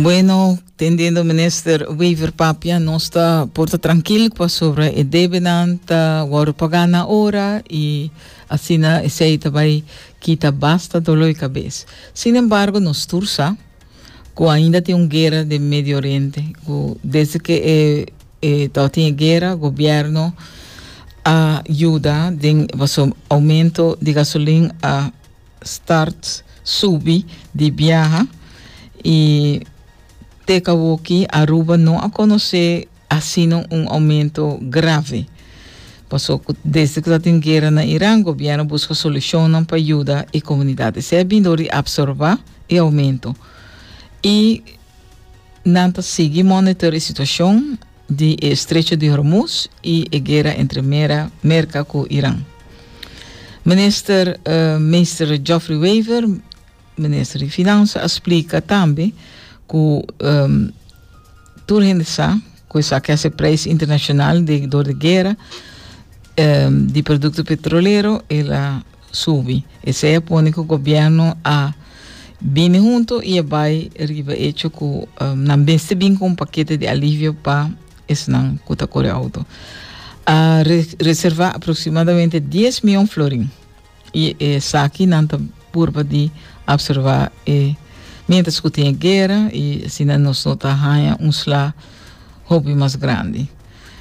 Bueno, tendiendo minister Wever papia, nos ta por ta trankil pasobra e debenan ta wòrdu pagá na ora i asina esei ta bai kita basta doló di kabes. Sin embargo, nos tur sa ku ainda tin un guera den Medio Oriente, ku desde ke e e tabatin e guera, gobièrnu a yuda den pasobra oumento di gasolin a start subi di biaha y te kawoki Aruba no a conoce asina un aumento grave. Paso cu desde cu ta tin guera na Iran gobierno busca solucionnan pa yuda e comunidad. Esey a bin door di absorba e aumento y nan ta sigui monitor e situacion di e Estrecho di Hormuz y e guera entre Mera, Merca cu Iran. Minister Meester Geoffrey Wever, Minister di Finansa, a splica tambe cu tur hende sa cu esaki a haci prijs internacional di door di guera di producto petrolero el a subi. Esey a pone cu gobierno a bini hunto y a bay riba hecho cu nan mester bin cu un pakete di alivio pa esnan cu ta core auto. A reserva aproximadamente dies miyon florin y esaki nan ta purba di absorba e mientras cu tin e guera y asina nos no ta haya un sla hopi mas grandi.